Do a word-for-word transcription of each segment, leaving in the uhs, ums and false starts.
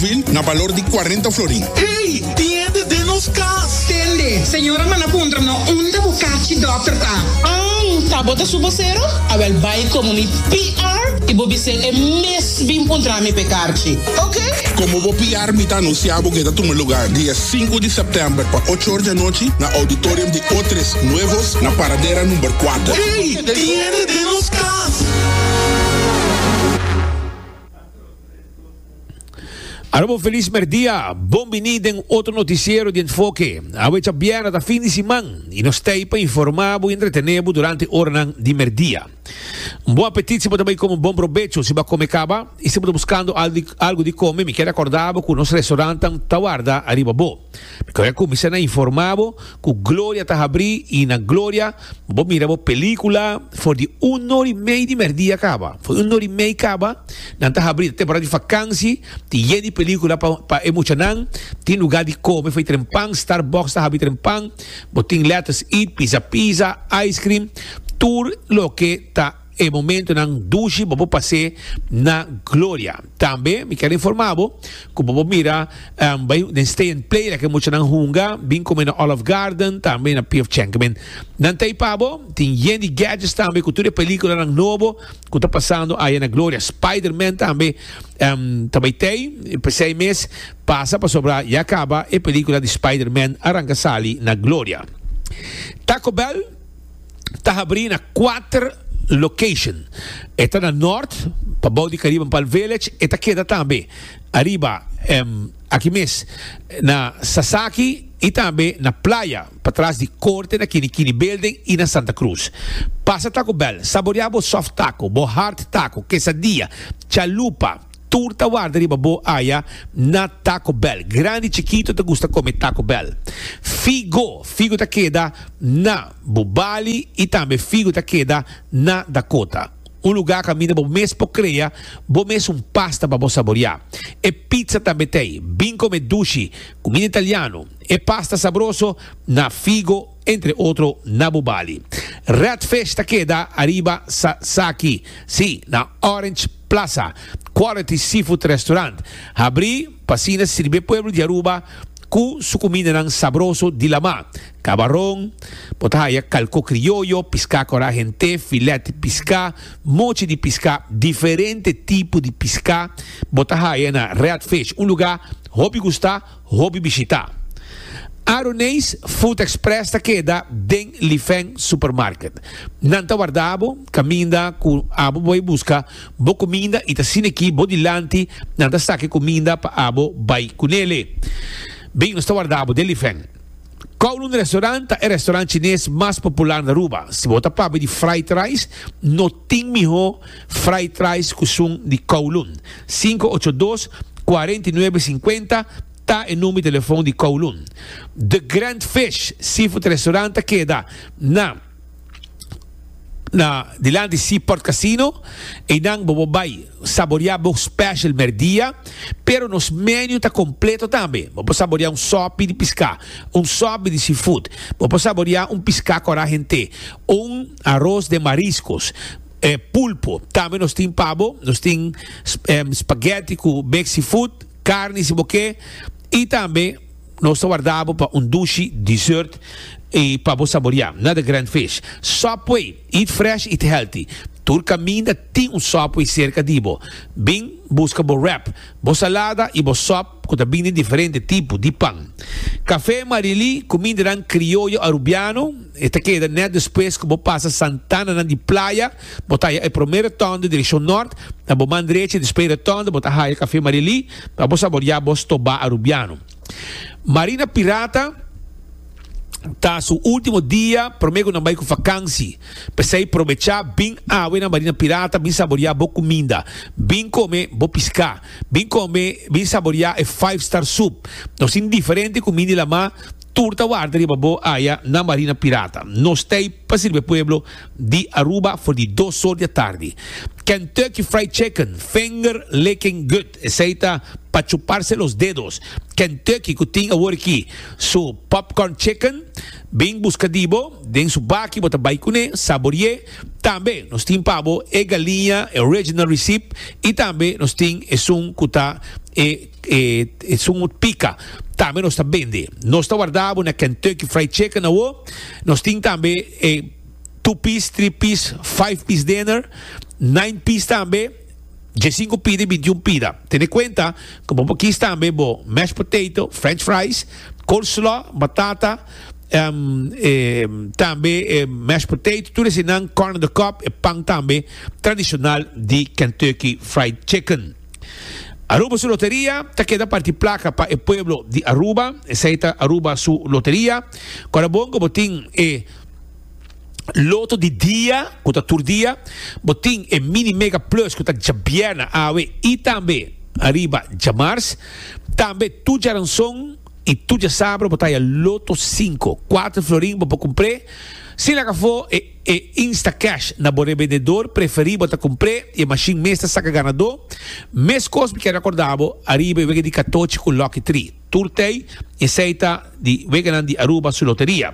Bougainville na balor di cuarenta florin. Hey, tiende den nos cas. Tende, señora manda puntra no unda bo carchi dokter ta. Ah, ta bo ta su vocero? Awel bay como mi P R y bo bis'e e mes bin puntra mi p'e carchi. Ok? Como bo P R mi ta anuncia cu ta tuma lugar dia cinco di september pa ocho or di anochi na auditorium di Otres Nuevos na Paradera number cuater. Hey, tiende den nos cas. Aruba, feliz merdia. Bon bini den otro noticiero di Enfoke. Awe diabierna, ta fin di siman y nos ta pa informa y entretene durante ora di merdia. Un bon apetit si bo tambe come, un bon probecho si bo a come caba y si bo ta buscando algo di come, mi kier recorda cu nos restaurant ta warda ariba bo. Mi kier cuminsa informa cu Gloria ta habri y na Gloria bo mira bo pelicula for di un or y mey di merdia caba. For un or y mey caba, nan ta habri temporada di vakantie, tin yen di pelicula pa pa e muchanan, tin lugar di come, for trempan, Starbucks ta habri trempan, bo tin Let's Eat, pizza pizza, ice cream, tur loke ta e momentonan dushi bo pasa na Gloria. Tambe mi kier informa cu bo mira um, bay den Stay and Play cu muchanan hunga, bin come na Olive Garden, tambe na P F. Chang. Nan t'ey pa bo, tin yen di gadgets tambe cu tur peliculanan nobo cu ta pasando ey na Gloria. Spider-Man tambe um, tambe tin, seis mes pasa pasobra ya caba e pelicula di Spider-Man a ranca sali na Gloria. Taco Bell ta habri na cuater location. E ta na Noord, pabou di Caribbean Palm Village, e ta keda tambe ariba um, aki mes na Sasaki y tambe na Playa, patras di Corte na Kinikini Building y na Santa Cruz. Pasa Taco Bell, saborea bo soft taco, bo hard taco, quesadilla, chalupa, tur ta warda riba bo aya na Taco Bell. Grandi, chikito ta gusta come Taco Bell. Figo, Figo ta keda na Bubali y tambe Figo ta keda na Dakota. Un lugar caminda bo mes por crea, bo mes un pasta pa bo saborea. E pizza tambe tin, bin come dushi, cuminda italiano, e pasta sabroso na Figo, entre otro na Bubali. Red Fish ta keda ariba Sasaki, si, na Orange Plaza, Quality Seafood Restaurant. Habri, pa asina sirbi pueblo di Aruba cu su cuminda sabroso di lama. Cabaron, bo ta haya calco crioyo, pisca coragente, filet di pisca, mochi di pisca, diferente tipo di pisca, bo ta haya na Red Fish, un lugar hopi gusta, hopi bishita. Aroneis Food Express ta keda den Lifeng Supermarket. Nan ta warda bo, caminda cu abo bay busca bo cuminda y ta asina aki bo dilanti, nan ta saca cuminda pa abo bay cunele. Bin, nos ta warda bo den Lifeng. Kowloon Restaurant e restaurant chines mas popular na Aruba. Si bo ta papia di fried rice, no tin miho fried rice cu esun di Kowloon. cinco ocho dos cuarenta y nuebe cincuenta ta e number di telefon di Kowloon. The Grand Fish Seafood Restaurant keda na na dilanti Seaport Casino y nan bo bay saborea bo special merdia, pero nos menu ta completo tambe. Bo saborea un sopi di pisca, un sopi di seafood, bo saborea un pisca coragente, un arroz de mariscos, eh, pulpo. Tambe nos tin pa bo, nos tin eh, spaghetti cu mix seafood, carni si bo kier, y tambe nos ta warda bo pa un dushi dessert y pa bo saborea. Na The Grand Fish. Subway, eat fresh, eat healthy. Tur caminda tin un Subway cerca di bo. Bin busca bo wrap, bo salada y bo sub cu tambe tin diferente tipo di pan. Café Marili, cuminda crioyo arubiano, e ta keda net despues cu bo pasa Santana di Playa, bo ta e prome rotonde direccion noord, na bo man drechi despues rotonde, bo ta haya Café Marili, pa bo saborea bo stoba arubiano. Marina Pirata ta su ultimo dia, prome cu nan bay cu vakantie. Pesey aprovecha, bin awe na Marina Pirata, bin saborea bo cuminda, bin come bo pisca, bin come, bin saborea e five star soup. Nos tin diferente cuminda di lama. Tur ta warda riba bo aya na Marina Pirata. Nos t'ey pa sirbi pueblo di Aruba for di dos or di atardi. Kentucky Fried Chicken, finger licking good. Esey ta pa chuparse los dedos. Kentucky cu tin awor aki su popcorn chicken, bin busca di bo, den su baki bo ta bay cune, saborie. Tambe nos tin pa bo e galiña original recipe y tambe nos tin esun cu ta e e esun pica. Tambe nos ta bende. Nos ta warda bo na Kentucky Fried Chicken awo. Nos tin tambe e two piece, three piece, five piece dinner, nine piece tambe, diescinco pida y bintiun pida. Tene cuenta cu bo por kies tambe bo mashed potato, french fries, coleslaw, batata, um, eh, tambe eh, mashed potato, tur esnan, corn on the cob, e pan tambe tradicional di Kentucky Fried Chicken. Aruba su loteria ta keda parti placa pa e pueblo di Aruba. Esey ta Aruba su loteria. Corda bon cu bo tin e loto di dia, cu ta tur dia, bo tin e mini mega plus cu ta djabierna awe y tambe ariba djamars, tambe tur djaranson y tur djasabra bo ta haya loto cinco, cuater florin bo por cumpr'e. Sin laga afo e e Instacash na bo rebendedor preferi bo ta cumpr'e y e machine mes ta saca ganador. Mescos mi kier recorda bo ariba e wega di catochi cu Lucky Tree. Tur tey esey ta di weganan di Aruba su loteria.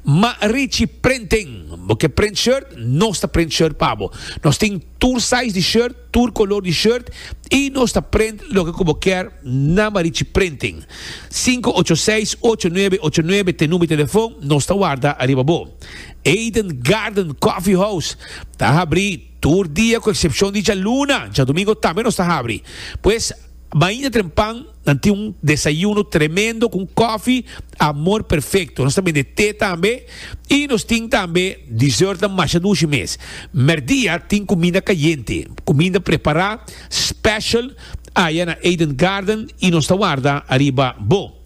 Ma Richie Printing, bo ke print shirt? Nos ta print shirt pa bo. Nos tin tur size di shirt, tur color di shirt y nos ta print loke cu bo kier na Marichi Printing. Sinku ocho seis, ocho nuebe ocho nuebe t'e number di telefon, nos ta warda ariba bo. Eden Garden Coffee House ta habri tur dia cu excepcion di djaluna, djadomingo tambe nos ta habri. Pues mainta trempan nan tin un desayuno tremendo cu un coffee amor perfecto. Nos ta bende te tambe y nos tin tambe dessertnan masha dushi mes. Merdia tin cuminda cayente, cuminda prepara special aya na Eden Garden y nos ta warda ariba bo.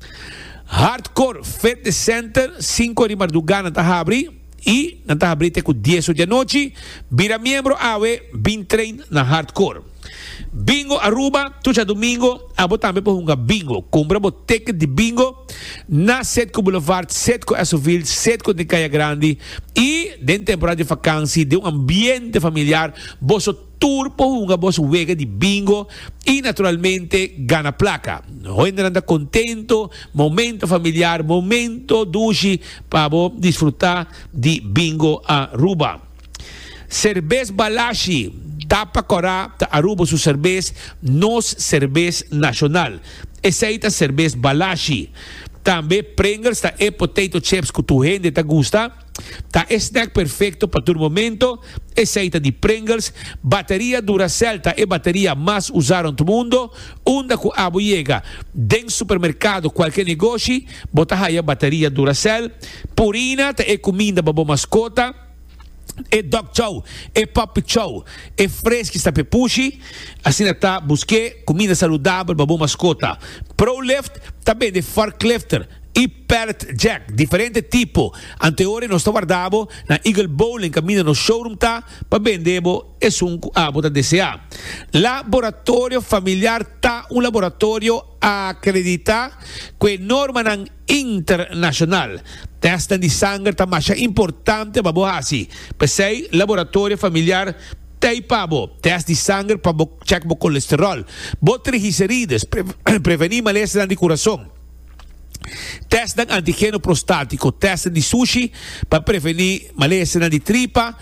Hardcore Fitness Center, sinku di marduga nan ta habri y nan ta habri te ku dies or di anochi. Bira miembro awe, bin train na Hardcore. Bingo Aruba, tur djadumingo abo tambe por hunga bingo. Cumpra bo ticket di bingo na Citgo Boulevard, Citgo Esoville, Citgo den Caya Grandi y den temporada di vakantie den un ambiente familiar boso Tur por hunga bos wega di bingo y naturalmente gana placa. Hoendernan ta contento, momento familiar, momento dushi pa bo disfruta di Bingo Aruba. Cerbes Balashi, Tapa Cora ta Aruba su cerbes, nos cerbes nacional. Esey ta Cerbes Balashi. Tambe Pringles ta e potato chips cu tur hende ta gusta. Ta e snack perfecto pa tur momento. Esey ta di Pringles. Bateria Duracell ta e bateria mas usa rond mundo. Unda cu abo yega den supermercado, cualke negoshi, bo ta haya bateria Duracell. Purina ta e cuminda pa bo mascota. E dog chow, e puppy chow, e freski sta p'e pushi, asina ta busk'é kuminda saludabel pa bo maskota. Prolift ta bende forklifter i pallet jack, diferente tipo. Anteore nos ta warda bo na Eagle Bowling kaminda nos showroom ta pa bende bo esun ku abo ta deseá. Laboratorio Familiar ta un laboratorio akreditá ku e normanan internashonal. Tèstnan di sanger ta masha importante pa bo hasi. P'esei, Laboratorio Familiar t'ei pa bo. Tèst di sanger pa bo chèk bo kolesteròl, bo triglicerides, prevení malesanan di kurason. Tèstnan antigeno prostátiko, tèstnan di sushi pa prevení malesanan di tripa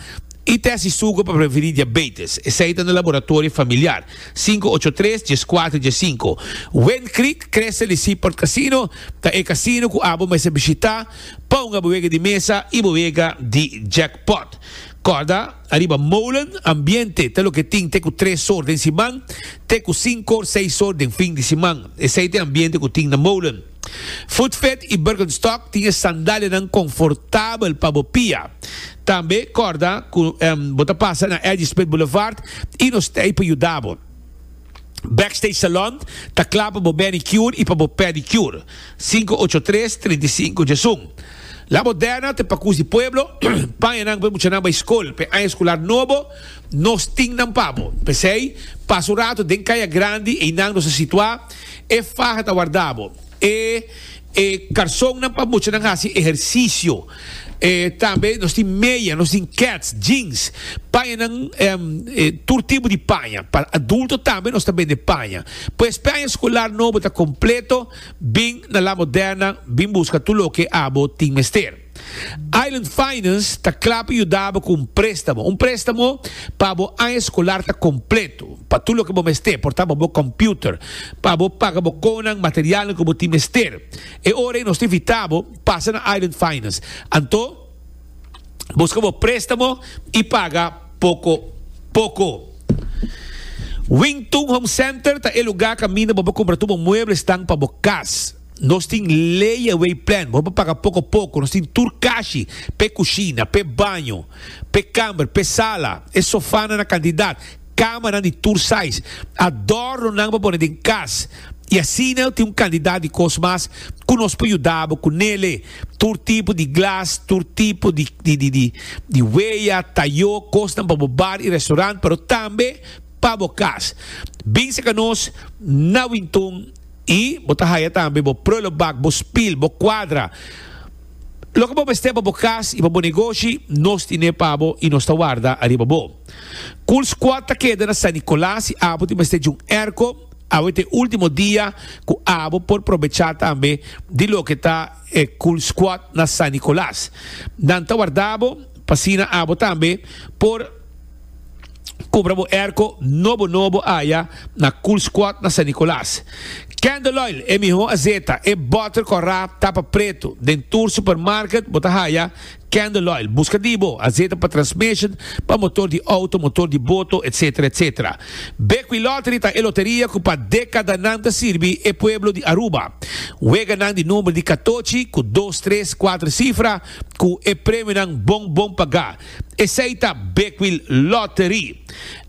i tèst di sugu pa prevení diabetes. Esei ta na Laboratorio Familiar, sinku ocho tres, dies kuater, dies sinku. Wind Creek, Crystal i Seaport Casino ta e kasino ku abo mester bishitá pa hunga bo wega di mesa i bo wega di jackpot. Kòrda, ariba Molen, ambiente ta loke tin te ku tres or den siman, te ku sinku or, seis or den fin di siman. Esei ta e ambiente ku tin na Molen. Footfit i Birkenstock tin e sandalianan konfortabel pa bo pia. Tambe kòrda ku bo ta pasa na Eddie Smith Boulevard i nos ta ei pa yuda bo. Backstage Salon ta kla pa bo manicure i pa bo pedicure. Sinku ocho tres, trinta i sinku, djesun. La Moderna ta e pakus di pueblo, pañanan pa e muchanan bai skol pa e aña escolar nobo, nos tin nan pa bo. P'esei, pasa un rato den Kaya Grandi, einan nos ta situá, e faha ta warda bo. E e karsonnan pa muchanan hasi ehersisio. E tambe nos tin meya, nos tin keds, jeans, pañanan, tur tipo di paña. Pa adulto tambe nos ta bende paña. Pues paña eskolar nobo ta kompleto, bin na La Moderna bin buska tur loke abo tin mester. Island Finance ta kla pa yuda bo ku un préstamo. Un préstamo pa bo aña eskolar ta kompleto, pa tur loke bo mester, por ta pa bo kòmpiuter, pa bo paga bo konan, materialnan ku bo tin mester. E ora ei nos ta invitá bo pasa na Island Finance. Anto, buska bo préstamo i paga poko poko. Wingtun Home Center ta e lugá kaminda bo por kumpra tur bo mueblesnan pa bo kas. Nos tin layaway plan, bo por paga poko poko. Nos tin tur kashi p'e kushina, p'e baño, p'e kamber, p'e sala, e sofanan na kantidat, kamanan di tur size, adornonan pa pone den kas. I asina tin un kantidat di kos mas ku nos por yuda bo ku nele, tur tipo di glas, tur tipo di di di weya, tayó, kosnan pa bo bar i restaurant, pero tambe pa bo kas. Bin seka nos na Wintun i bo ta haya tambe bo prullenbak, bo spil, bo kuadra. Loke bo mester pa bo kas i pa bo negoshi, nos tine pa bo i nos ta warda ariba bo. Cool Squad ta keda na San Nicolas i abo tin mester di un airco. Awe ta e ultimo dia ku abo por probechá tambe di loke ta e Cool Squad na San Nicolas. Nan ta warda bo pa asina abo tambe por kumpra bo airco nobo nobo aya na Cool Squad na San Nicolas. Candle Oil, e mihó azeta, e bòter kòrá tapa pretu. Den tur supermarket bo ta haya Candle oil, busca di bo, azeta pa transmission, pa motor di auto, motor di boto, etc. Etc. Bequi Lottery ta e loteria cu pa decadanan ta sirbi e pueblo di Aruba. Weganan di number di catochi cu dos, tres, cuater cifra cu e premionan bon bon paga. Esey ta Bequi Lottery.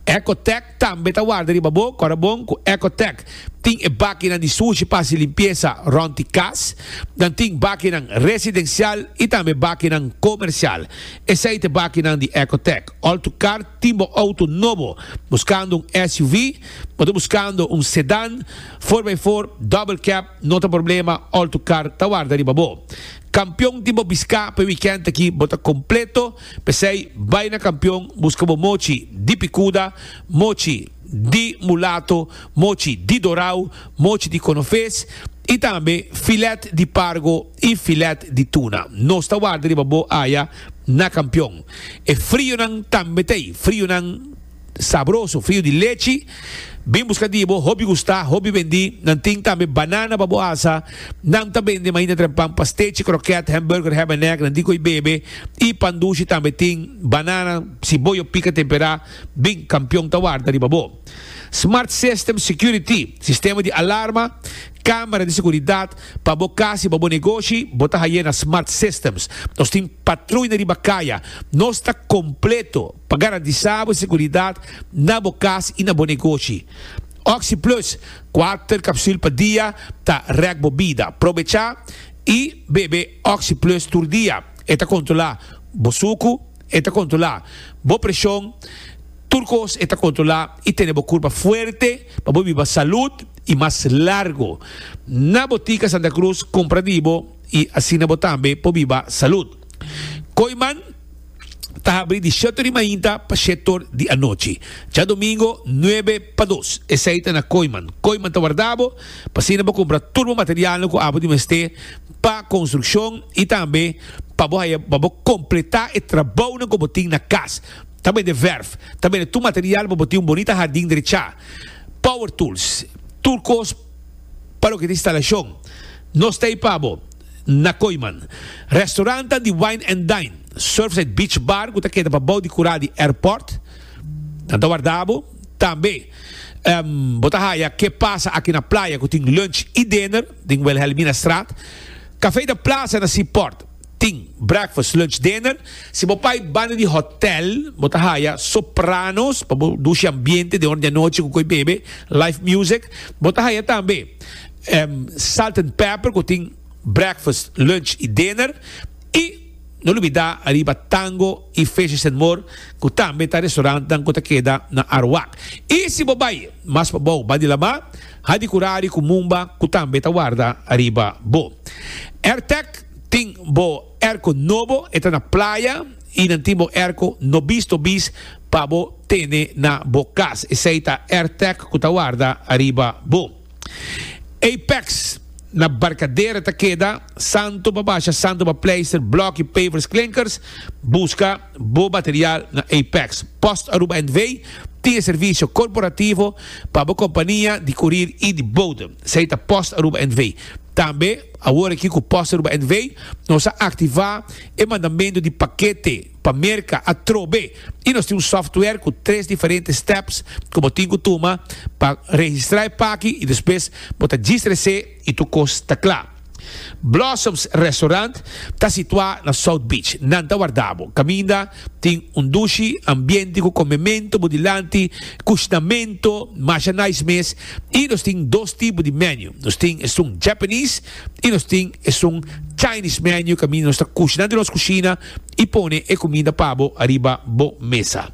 Ecotec tambe ta warda riba bo, kòrda bon ku Ecotec tin e bakinan di sushi pa hasi limpiesa rònt di kas. Nan tin bakinan residensial i tambe bakinan komersial. Esei ta e bakinan di Ecotec. Oltucar tin bo outo nobo. Buskando un S U V? Bo ta buskando un sedan, four by four, double cab? No ta problema, Oltucar ta warda riba bo. Kampion tin bo biská pa e wikènt aki bo ta kompleto, p'esei bai na Kampion buska bo mochi di pikuda, mochi di mulato, mochi di dorau, mochi di konofes i tambe filet di pargo i filet di tuna. Nos ta warda riba bo aya na Kampion. E frionan tambe t'ei, frionan sabroso, frio di lechi. Bin buska di bo, hopi gusta, hopi bendi. Nan tin tambe banana pa bo asa. Nan ta bende mainta trempan, pastechi, kroket, hamburger, ham and egg, nan tin ku e bebe. I pan dushi tambe tin, banana, siboyo pika tempera. Bin, Kampion ta warda riba bo. Smart System Security, sistema di alarma, kamera di seguridat pa bo kas i pa bo negoshi, bo ta haye na Smart Systems. Nos tin patruina riba kaya. Nos ta kompleto pa garantisa bo seguridat na bo kas i na bo negoshi. Oxi Plus, kuater kapsul pa dia ta rèk bo bida. Probechá i bebe Oxi Plus tur dia. E ta kontrolá bo suku, e ta kontrolá bo preshon, tur kos e ta kontrolá i tene bo kurpa fuerte pa bo biba salud i mas largo. Na Botica Santa Cruz kumpra di bo i asina bo tambe por biba salud. Kooiman ta habri di shete di mainta pa shete or di anochi. Djadomingo nuebe pa dos. Esei ta na Kooiman. Kooiman ta warda bo pa asina bo kumpra tur bo materialnan ku abo di mester pa konstrukshon i tambe pa bo haya pa bo kompletá e trabounan ku bo tin na kas. Ta bende verf, ta bende tur material pa bo tin un bonita hardin drechá. Power tools, tur kos pa loke ta instalashon. Nos ta ei pa bo na Kooiman. Restaurantan di Wine and Dine, Surfside Beach Bar ku ta keda pa bou di kurá di airport. Nan ta warda bo. Tambe bo ta haya Ke Pasa Aki na Playa ku tin lunch i dinner den Wilhelminastraat. Café de Plaza na Seaport tin breakfast, lunch, dinner. Si bo pai banda di hotel bo ta haya Sopranos pa bo dushi ambiente den ora di anochi ku koi bebe, live music. Bo ta haya tambe Salt and Pepper ku tin breakfast, lunch i dinner. I No lubida ariba Tango y Fishes and More cu tambe ta restaurantnan cu ta keda na Arwak. Y si bo bay mas pabou banda di lama, Hadicurari cu Mumba cu tambe ta warda ariba bo. Airtec tin bo airco nobo, e ta na Playa y nan tin bo airco nobis tobis pa bo tene na bo cas. Esey ta Airtec cu ta warda ariba bo. Apex na Barcadera ta keda, santo pa basha, santo pa pleister, bloki, pavers, klinkers, busca bo material na Apex. Post Aruba N V tin servicio corporativo pa bo compania di courier y di bode. Esey ta Post Aruba N V. Tambe, awor aki cu Post Aruba N V, nos a activa e mandamento di pakete pa Merca atrobe. Y nos tin un software cu tres diferente steps cu bo tin cu tuma pa registra e paki y despues bo ta registra y tur cos ta cla. Blossoms Restaurant ta situa na South Beach. Nan ta warda bo. Caminda tin un dushi ambiente cu comemento, bo dilanti, cushinamento, masha nice mes. Y nos tin dos tipo di menu. Nos tin un Japanese y nos tin un Chinese menu. Caminda nos ta cushinando nos cushina y pone e cuminda pa bo ariba bo mesa.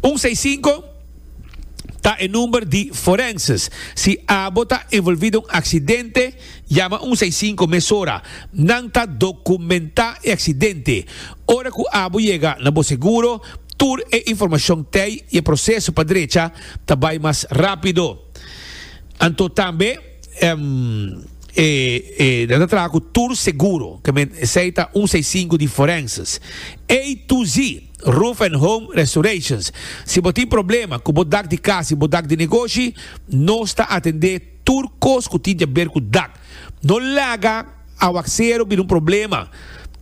un seis cinco ta e number di forenses. Si abo ta envolvi den un accidente, yama un seis cinco mesora. Nan ta documenta e accidente. Ora cu abo yega na bo seguro, tur e informacion t'ey y e proceso pa drecha ta bay mas rapido. Anto tambe um, e, e, nan ta traha tur seguro, kiermen esey ta un seis cinco di forenses. A to Z, Roof and Home Restorations. Si bo tin problema cu bo dak di cas, bo dak di negoshi, nos ta atende tur cos cu tin di haber cu dak. No laga awacero bira un problema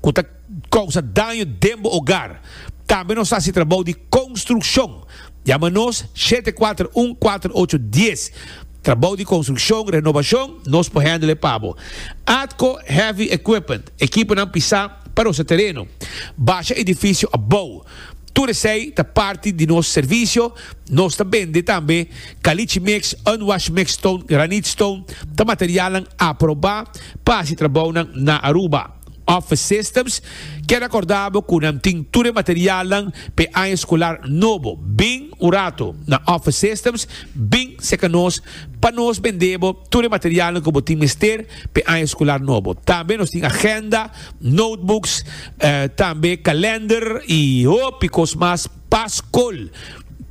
cu ta causa daño den bo hogar. Tambe nos ta haci trabou di construccion. Yama nos shete cuater un, cuater ocho un sero. Trabou di construccion, renovacion, nos por handle pa bo. Atco Heavy Equipment, ekiponan pisa pa nos tereno. Basha edificio abou. Tur esey ta parti di nos servicio. Nos ta bende tambe caliche mix, unwash mix stone, granite stone, ta material aproba pa e trabou na Aruba. Office Systems, kier recorda bo cu nan tin tur material pa aña escolar nobo. Bin un rato na Office Systems, bin serca nos, pa nos bende bo tur material cu bo tin mester pa aña escolar nobo. Tambe nos tin agenda, notebooks, eh, tambe calendar y hopi cos mas pa scol.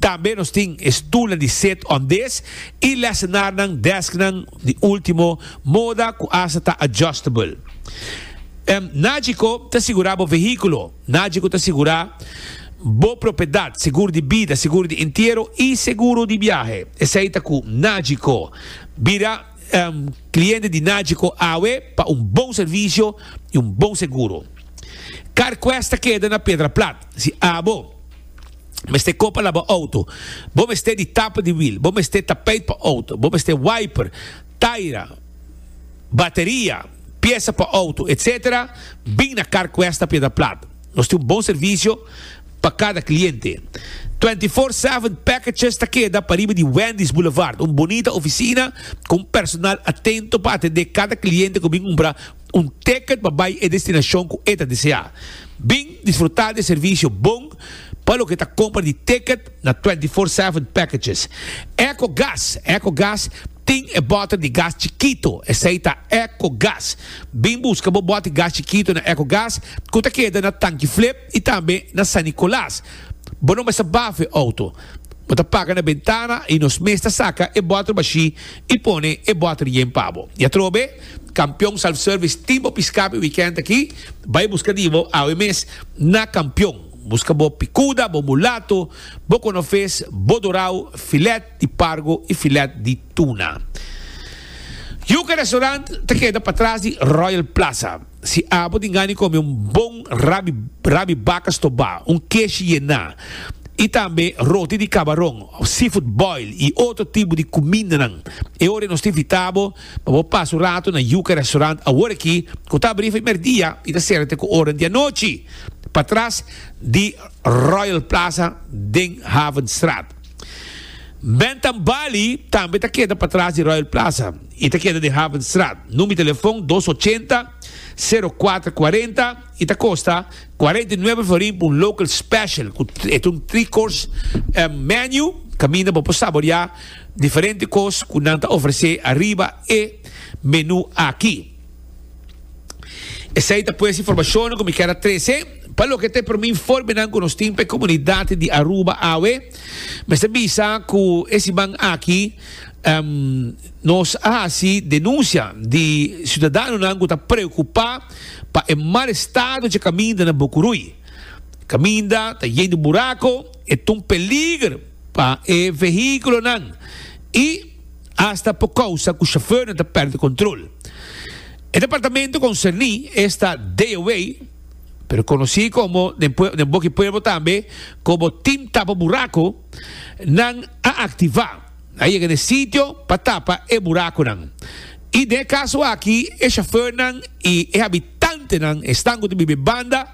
Tambe nos tin stoel di sit on desk y lessenaar desknan di ultimo moda cu hasta ta adjustable. Um, Nagico ta sigura bo vehiculo. Nagico ta sigura bo propiedad, seguro di bida, seguro di entiero y seguro di biahe. Esey ta cu Nagico. Bira um, cliente di Nagico awe pa un bon servicio y un bon seguro. CarQuest keda na Piedra Plat. Si abo mester cos pa laba auto, bo mester di tapa di wiel, bo mester tapijt pa auto, bo mester wiper, taira, bateria, pieza pa auto, et cetera. Bin na CarQuest Piedra Plat. Nos tin un bon servicio pa cada cliente. veinticuater siete Packages ta keda pariba di Wendy's Boulevard, un bunita oficina cu personal atento pa atende cada cliente cu bin cumpra un ticket pa bay e destinacion cu e ta desea. Bin disfruta di servicio bon pa loke ta compra di ticket na veinticuater siete Packages. EcoGas, EcoGas tin e boter di gas chikito, esey ta EcoGas. Bin busca bo boter di gas chikito na EcoGas, cu ta keda na Tanki Flip y tambe na San Nicolas. Bo no mester bafa auto. Bo ta paga na bentana y nos mes ta saca e boter bashi y pone e boter yen pa bo. Y atrobe, Campeon Self-Service tin bo pisca e weekend aki, bay busca di bo awe mes na Campeon. Busca bo picuda, bo mulato, bo conofes, bo dorao, filet di pargo y filet di tuna. Yuca Restaurant ta keda patras di Royal Plaza. Si abo tin gana di come un bon rabi, rabi baca stoba, un keshi yena, y tambe roti di cabaron, seafood boil y otro tipo di cuminda. E ora nos ta invita bo pa pasa un rato na Yuca Restaurant awor aki, cu ta habri merdia y ta sera te cu ora di anochi. Patras di Royal Plaza den Havenstraat. Bentam Bali tambe ta keda patras di Royal Plaza y ta keda den Havenstraat. Number di telefon dos ochenta, sero kuater kuarenta y ta kosta kuarenta i nuebe florin pa un local special. Ku e ta un three course menu kaminda bo por saboreá diferente kos ku nan ta ofresé ariba e menu aki. Esei ta pues informashonnan ku mi kier a trese pa loke ta e prome informenan ku nos tin pa e komunidat di Aruba awe. Mester bisa ku e siman aki nos a hasi denunsia di siudadanonan ku ta preokupá pa e mal estado dje kaminda na Bokurui. Kaminda ta yen di burako, e ta un peliger pa e vehíkulonan i asta por kousa ku shofèrnan ta pèrdè kontrol. E departamento konserní, esta D O W, pero konosí komo den den boki pueblo tambe komo Team Tapa Buraco, nan a aktivá. A yega na e sitio pa tapa e buraconan. I den e kaso aki e shofèrnan i e habitantenan, esnan ku ta biba e banda,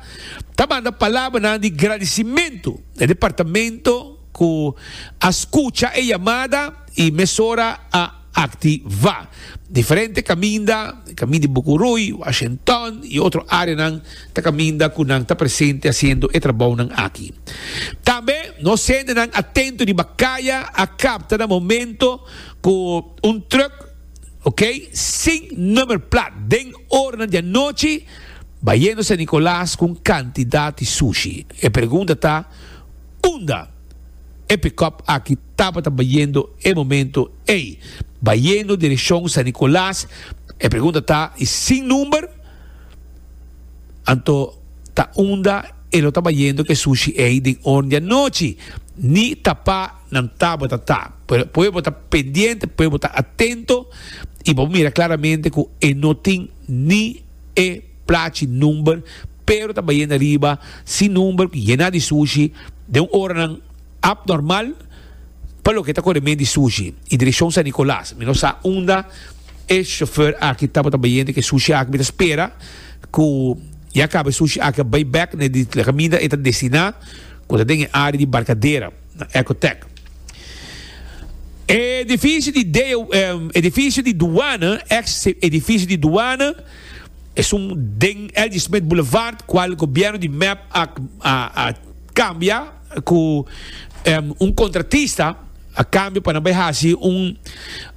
ta manda palabranan di gradisimentu na e departamento ku a skucha e yamada i mesora a aktivá. Diferente kaminda, kaminda di Bucurui, Washington i otro áreanan ta kaminda ku nan ta presente hasiendo e trabounan aki. Tambe nos hendenan atento riba kaya a kapta na momento ku un trùk, ok, sin nummerplaat den oranan di anochi bayendo San Nicolas ku un kantidat di sushi. E pregunta ta, unda e pick-up aki tabata bayendo e momento ei? Bayendo direccion San Nicolas, e pregunta ta, y sin number? Anto ta unda e lo ta bayendo ke sushi ei den ora di anochi? Ni tapa nan tabata ta. Pero pueblo ta pendiente, pueblo ta atento, y bo mira claramente cu e no tin ni e plachi number, pero ta bayendo ariba sin number, yena di sushi, den un oranan abnormal pa loke ta kore men di sushi y direccion San Nicolas. Mi no sa unda e chauffeur aki tabata bayendo ke sushi aki. Mi ta spera ku ya caba e sushi aki a bay bek na di caminda e ta destina, ku ta den e area di Barcadera na Ecotech. Edificio di D O, edificio di douane, ex edificio di douane, es un den L G Smith Boulevard, cual gobierno di M E P a, a, a cambia cu, um, un contratista a cambio pa nan bay haci un,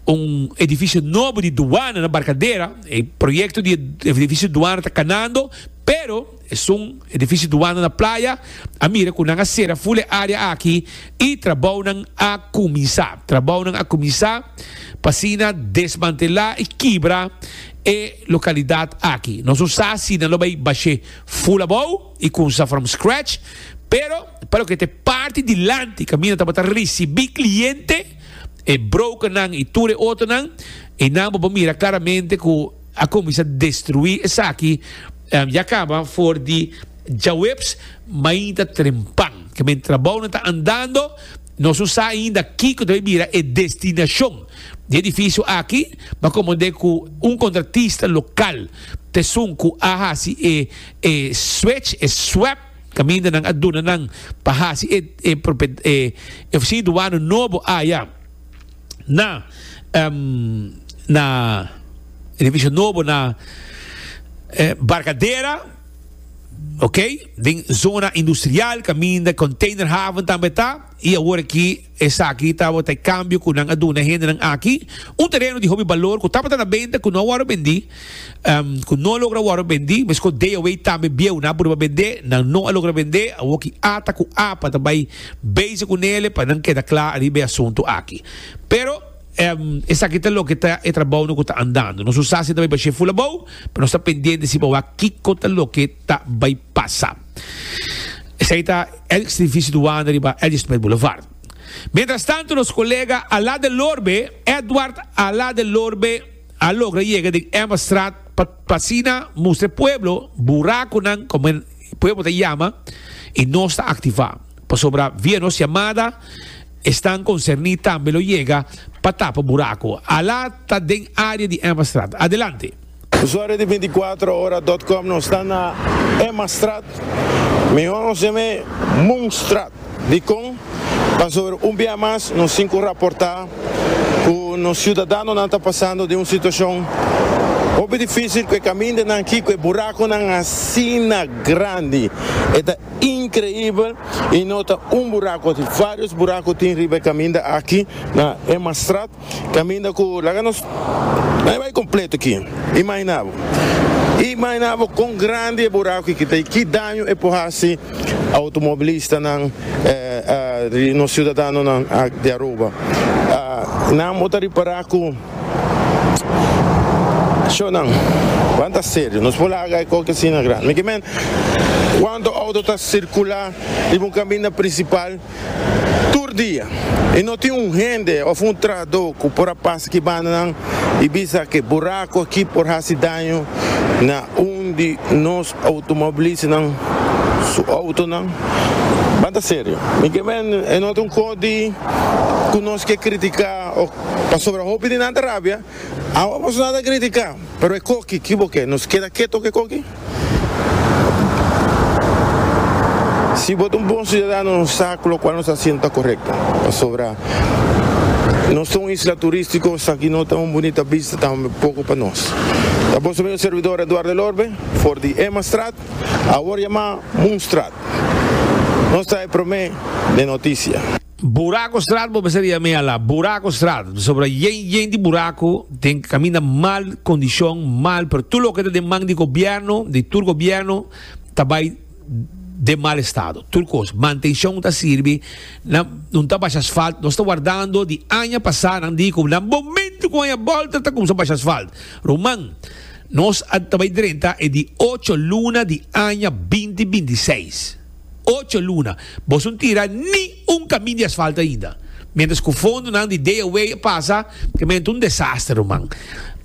un edificio nobo di douane na Barcadera. E proyecto di edificio douane ta canando, pero es un edificio douane na playa. A mira cu nan a cera full area aki y trabounan a cuminsa. Trabounan a cuminsa pa asina desmantela y kibra e localidad aki. Nos no sa si nan lo bay bashe full abou y cuminsa from scratch, pero pa loke te parti dilanti camina tabata recibi cliente, e brokernan y tur e otronan, e nan bo mira claramente cu a cuminsa destrui esaki, um, ya caba for di djaweps mainta trempan. Que men trabou nan ta andando, nos no sa ainda kiko debe mira e destinacion di edificio aki, ma como de cu un contratista local tesun cu a hasi e, e switch, e swap, caminda nan aduna nan pa hasi e, e, e, e oficina douane nobo aya na, um, na edificio nobo na, eh, Barcadera, ok, den zona industrial, caminda container haven tambe ta, y awor aki esaki tabata e cambio cu nan aduna hende nan aki, un terreno di hopi valor cu tabata na venta, cu no awor bendi, um, cu no logra awor bendi, mes cu D O W tambe bieu na purba bende, nan no a logra bende, awor ki ata cu apa tabay bezig cu nele pa nan keda kla riba e asunto aki. Pero, um, esaki ta loke ta e trabou no ku ta andando. Nos sa si ta bai bashe full abou, pero nos ta pendiente si pa wak kiko ta loke ta bai pasa. Esaki ta ex edificio douane riba L G Smith Boulevard. Mientras tanto, nos colega Alá del Lorbe, Edward Alá del Lorbe, a logra llega de Emmastraat pa, pa asina mustra pueblo, buraconan, como el pueblo te llama, y no está activa. Pasobra via nos llamada, están concernidos también lo llega pa tapa buraco. Alá ta den área de Emmastraat. Adelante. Usuario de veinticuatro horas punto com, nos está na Emmastraat. Mejor nos llame Moonstraat. Di con, Pasobra un bia mas nos tin ku raportá ku nos siudadanonan ta pasando den un situashon hopi difísil ku e kamindanan aki ku e burakonan asina grandi. E ta inkreibel i no ta un burako, tin vários burako tin riba e kaminda aki na Emmastraat. Kaminda ku laga nos bai kompleto aki. Imaginá bo. Imaginá bo kon grandi e buraku aki ta i ki daño e por hasi outomobilistanan, nos siudadanonan di Aruba. Nan bo ta ripará ku shownan ban ta serio. Nos por laga e koki asina grandi. Mi ke men kuantu outo ta sirkulá riba un kaminda prinsipal tur dia i no tin un hende òf un trahadó ku por a pasa ki bandanan i bisa ku e buraku aki por hasi daño na un di nos outomobilistanan su outonan. Ban ta serio. Mi ke men e no ta un kos di ku nos ke kritiká òf pasobra hopi di nan ta rabia. Awa pasobra nan ta kritiká. Pero e koki, ki bo ke? Nos keda keto ku e koki? Si bo ta un bon siudadano nos sa ku lokual nos ta hasiendo ta korekto. Pasobra nos ta un isla turístiko, esaki no ta un bunita bista tampoko pa nos. Ta boso amigo servidor Eduardo Elorbe for di Emmastraat, awor yamá Moonstraat. Nos ta e promé den notisia. Buracostraat bo mester yam'é ala, Buracostraat, pasobra yen yen di buraco den caminda mal condicion, mal, pero tur loke ta den man di gobierno, di tur gobierno ta bay den mal estado, tur cos, mantencion ta sirbi, nan no ta basha asfalt, nos ta wardando di aña pasa nan di cu na momento cu aña bolter ta cuminsa basha asfalt, ruman, nos a ta bay drenta e di ocho luna di aña binti binti seis. Ocho luna, boso no tira ni un kamin di asfalto ainda. Mientras ku fondonan di D A W a pasa, ke men ta un desaster, ruman.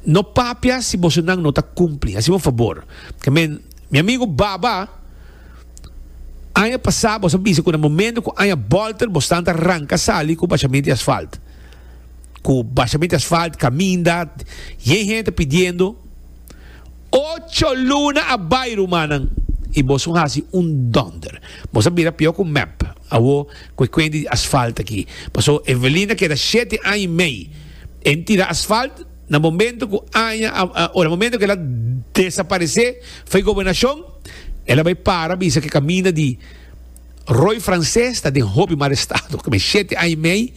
No papia si bosonan no ta kumpli. Hasi un fabor. Ke men, mi amigo Baba, aña pasá boso a bisa ku na momento ku aña bolter bosnan ta ranka sali ku bashament di asfalt. Ku bashament di asfalt, kaminda, yen hende ta pidiendo. Ocho luna a bai, rumannan, i boso hasi un dònder. Boso a bira pió ku mep awo ku e kuenti di asfalt aki. Paso Evelina keda shete aña i mei en tira asfalt, na momento ku aña o na momento ku el a desaparesé for e gobernashon, el a bai para bisa ku e kaminda di Rooi Frances ta den hopi mal estado. Kome shete aña i mei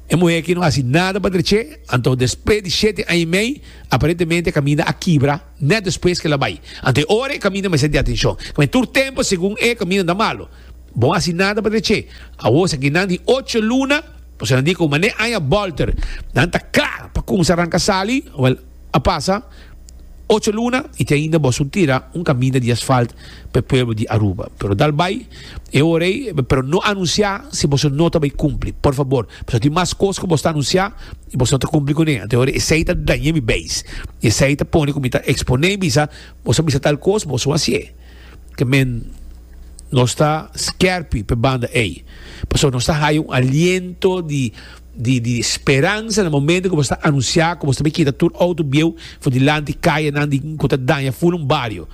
e muhé aki no hasi nada pa dreché, anto despues di shete aña i mei aparentemente e kaminda a kibra nèt despues ku el a bai. Anto e ora e kaminda mester di atenshon. Kome tur tempu segun e kaminda ta malo. Bo hasi nada pa dreché. Awor esaki nan di ocho luna, pasobra nan di ku manera aña bòlter nan ta kla pa kumsa ranka sali, wèl a pasa ocho luna y te ainda boso tira un caminda di asfalt pa e pueblo di Aruba. Pero dal bay e ora ey, pero no anuncia si boso no ta bay cumpli, por favor. Pasobra tin mas cos cu boso ta anuncia y boso no ta cumpli cune. Anto e ora esey ta daña mi beis. Y esey ta pone cu mi ta expone y bisa, boso a bisa tal cos, boso hacié. Ke men nos ta skerpi pa e banda ey. Pasobra nos ta haya un aliento di di di speransa na momento ku bo sta anunsiá ku bo sta bai kita tur outo bieu for dilanti kayanan di ku ta daña ful un bario.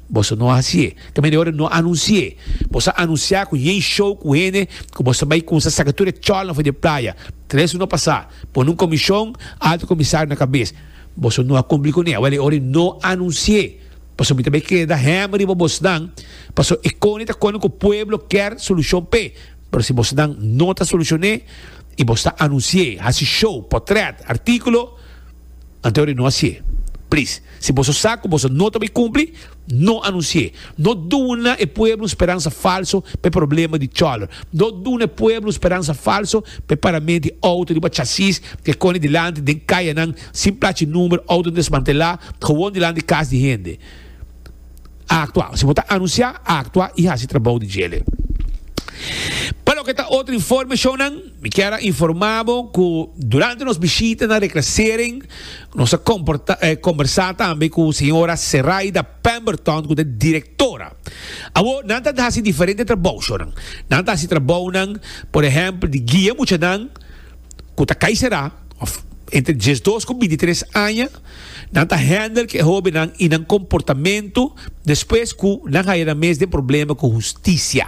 Boso no a hasié. Kaminda e ora no anunsié. Boso a anunsiá ku yen show ku hende ku boso bai kumsa saka tur e chòlnan for di e playa. Tres luna pasá, pone un komishon, alto komisario na kabes. Boso no a kumpli kuné. Awel e ora no anunsié. Pasobra mi ta bai keda hèmber riba bosnan, pasobra e koni ta koni ku pueblo kier solushon p'e. Pero si bosnan no ta solushon'é i bos ta anunsi'é, hasi show, potrèt, artíkulo, anto ora no hasié. Plis, si boso sa ku boso no ta bai kumpli, no anunsi'é. No duna e pueblo un speransa falso pa e problema di chòler. No duna e pueblo un speransa falso pa e parament di outo riba chasis ke koni dilanti den kayanan sin plachi number, outo desmantelá, gewon dilanti kas di hende. Aktua. Si bo ta anunsiá, aktua i hasi trabou di djele. Pa loke ta otro informe shownan, mi kier a informa bo ku durante nos bishita na Reclassering nos a komporta kombersá tambe ku señora Seraida Pemberton ku ta direktora. Awor nan ta hasi diferente trabou shownan. Nan ta hasi trabounan por ehèmpel di guia muchanan ku ta kai será òf entre diesdos ku bintitres aña. Nan ta handle ku e hóbennan i nan komportamentu despues ku nan haya nan mes den problema ku hustisia.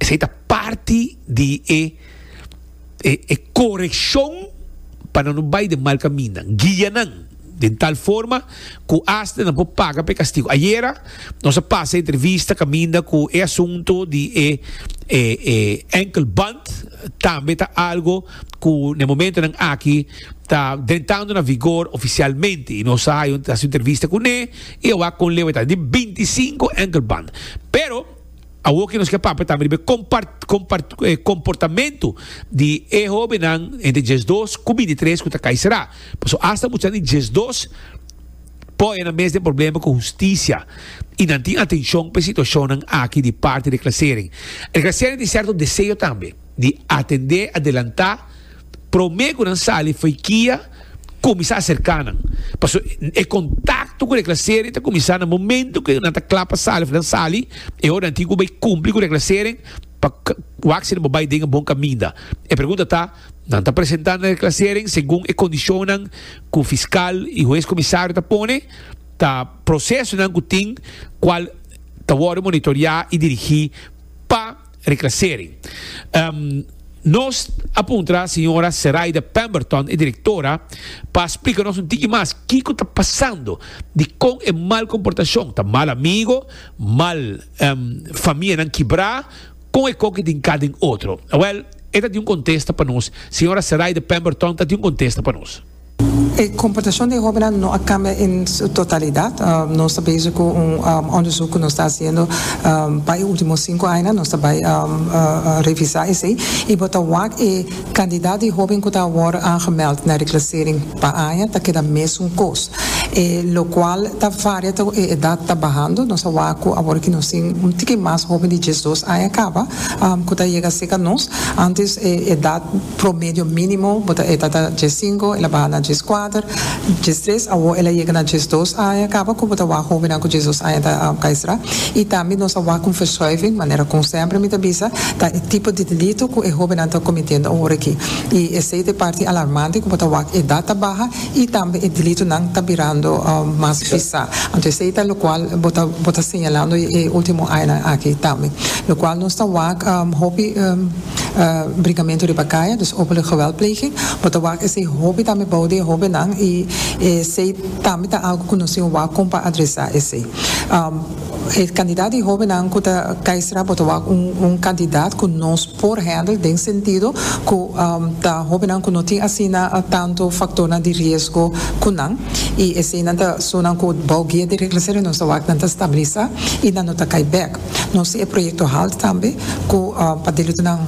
Esei ta parti di e E, e korekshon pa nan no bai den mal kaminda. Guia nan di tal forma ku asta nan por paga pa kastigu. Ayera nos a pasa entrevista kaminda ku e asuntu di e, e, e enkelband tambe ta algu ku na momentonan aki ta entrando na vigor ofisialmente i nos a hasi entrevista kuné i awor kon leu ta di binti sinku enkelband. Pero awor ku nos ke papia tambe di komportamentu di e hóbennan entre diesdos ku bintitres ku ta kai será. Paso asta mucha di diesdos por na mes tin problema ku hustisia i nan tin atenshon pa e situashon aki di parti di reclassering. Reclassering tin sierto deseo tambe di atendé, adelantá, promé ku nan sali fo'i kia, kuminsá aserká nan. Paso e kontakto ku reclassering ta kuminsá na momento ku nan ta kla pa sali, nan sali, e ora nan tin ku bai kumpli ku reclassering pa wak si nan bai den bon kaminda. E pregunta ta, nan ta presentando reclassering segun e kondishonnan ku fiskal i hues komisario ta pone, ta prosesonan ku tin kual ta wòrdu monitoreá i dirigí pa reclassering. Um, nos a puntra señora Seraida Pemberton, e direktora, pa splika nos un tiki mas kiko ta pasando di kon e mal komportashon, ta mal amigu, mal um, famianan kibrá, kon e kon ku tin kada otro. Well, e tin un kontesta pa nos. Señora Seraida Pemberton tin un kontesta pa nos. E komportashon di hóbennan no a kambia den su totalidat. Um, nos ta bezig ku un um, onderzoek ku nos ta hasiendo um, pa e último sinku añanan, nos ta bai um, uh, revisá esei. I bo ta wak e kantidat di hóben ku ta awor aangemeld na reclassering pa aña, ta keda mesun kos. E, lokual ta varia ta e edat ta bahando, nos a wak awor ku nos tin un tiki mas hóben di diesdos aña kaba, um, ku ta yega serka nos. Antes e edat promedio mínimo, bo ta e ta diesinku, el a baha na dieskuater, diestres, awor el a yega na diesdos aña kaba, ku bo ta wak hóben ku diesdos aña ta um, kai será. I tambe nos a wak un verschuiving, manera ku semper mi ta bisa, ta e tipo di delito ku e hóbennan ta kometiendo awor aki. I esei ta parti alarmante, ku bo ta wak edat ta baha i tambe e delitonan ta birando um, mas pisá. Anto esei ta lokual bo ta bo ta señalando e último aña aki tambe. Lokual nos ta wak um, hopi um, uh, bringamentu riba kaya, dus openlijke geweldpleging. Bo ta wak esei hopi tambe bou di hóbennan i esei tambe ta algu ku nos tin wak pa adresá esei. Um, e kantidat di hóbennan ku ta kai será, bo ta wak un, un kantidat ku nos por handle den sentido ku um, ta hóbennan ku no tin asina tantu faktor di riesgo ku nan i eseinan ta esnan ku bou guia di reclassering nos ta wak nan ta stabilisá i nan no ta kai back. Nos e proyekto HALT tambe ku uh, pa delitonan.